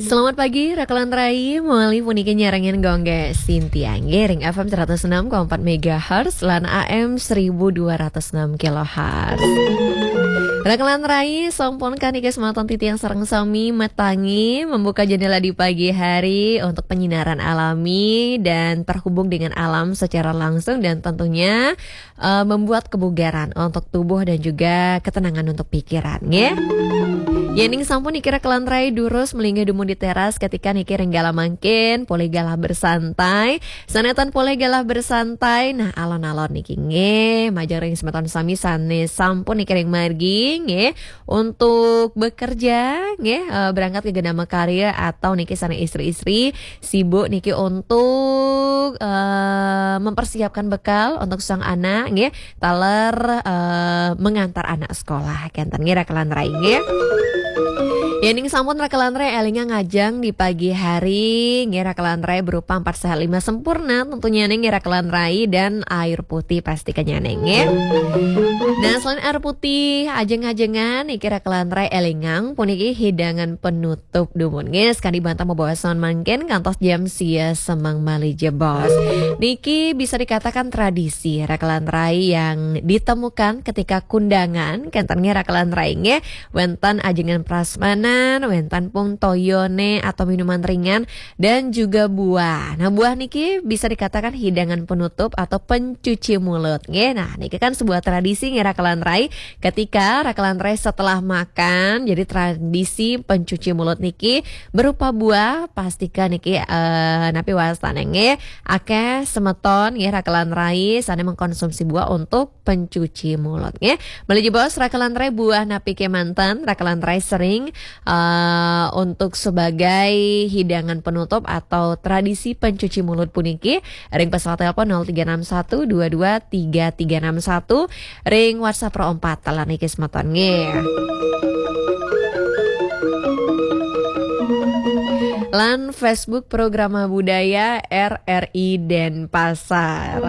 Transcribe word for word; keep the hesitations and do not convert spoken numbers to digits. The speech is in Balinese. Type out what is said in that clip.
Selamat pagi, Raka lan Rai. Malih puniki nyarengin Gongge Sintiang. Ring F M seratus enam koma empat megahertz lan A M seribu dua ratus enam kilohertz. Raka lan Rai, sampun kangge semeton titiang sareng sami matangi membuka jendela di pagi hari untuk penyinaran alami dan terhubung dengan alam secara langsung dan tentunya eh, membuat kebugaran untuk tubuh dan juga ketenangan untuk pikiran, nggih. Yening sampun niki Raka lan Rai durus melinggih dumun di teras ketika niki ring galah mangkin, polih galah bersantai. Sané ten polih galah bersantai, nah alon-alon niki nggih, majeng ring semeton sami sané sampun niki ring margi nggih untuk bekerja nggih, eh, berangkat ke gedama karya atau niki sané istri-istri sibuk niki untuk eh, mempersiapkan bekal untuk sang anak nggih, taler eh, mengantar anak sekolah kenten nggih Raka lan Rai nggih. Yening sampun Raka lan Rai elingang ngajeng di pagi hari nggih Raka lan Rai berupa empat sehat lima sempurna tentunya nggih Raka lan Rai dan air putih pasti kenyane nggih. Nah, selain air putih ajeng-ajengan niki Raka lan Rai elingang puniki hidangan penutup dumun nggih, sakadi bantah mabaosan mangkin kantos jam sia semeng malih jebos. Niki bisa dikatakan tradisi Raka lan Rai yang ditemukan ketika kundangan kenten nggih Raka lan Rai nggih, wenten ajengan prasmanan, wenten pung toyone atau minuman ringan dan juga buah. Nah, buah niki bisa dikatakan hidangan penutup atau pencuci mulut nggih. Nah, niki kan sebuah tradisi nggih Raka lan Rai, ketika Raka lan Rai setelah makan, jadi tradisi pencuci mulut niki berupa buah, pastikan niki eh, napi wastane nggih, akeh semeton nggih Raka lan Rai sané mengkonsumsi buah untuk pencuci mulut nggih. Malih jebos Raka lan Rai, buah napi kemanten Raka lan Rai sering eh, untuk sebagai hidangan penutup atau tradisi pencuci mulut puniki ring pesawat telepon nol tiga enam satu dua dua tiga tiga enam satu, ring WhatsApp Pro empat talan niki semeton nggih. Lan Facebook Programa Budaya R R I Denpasar.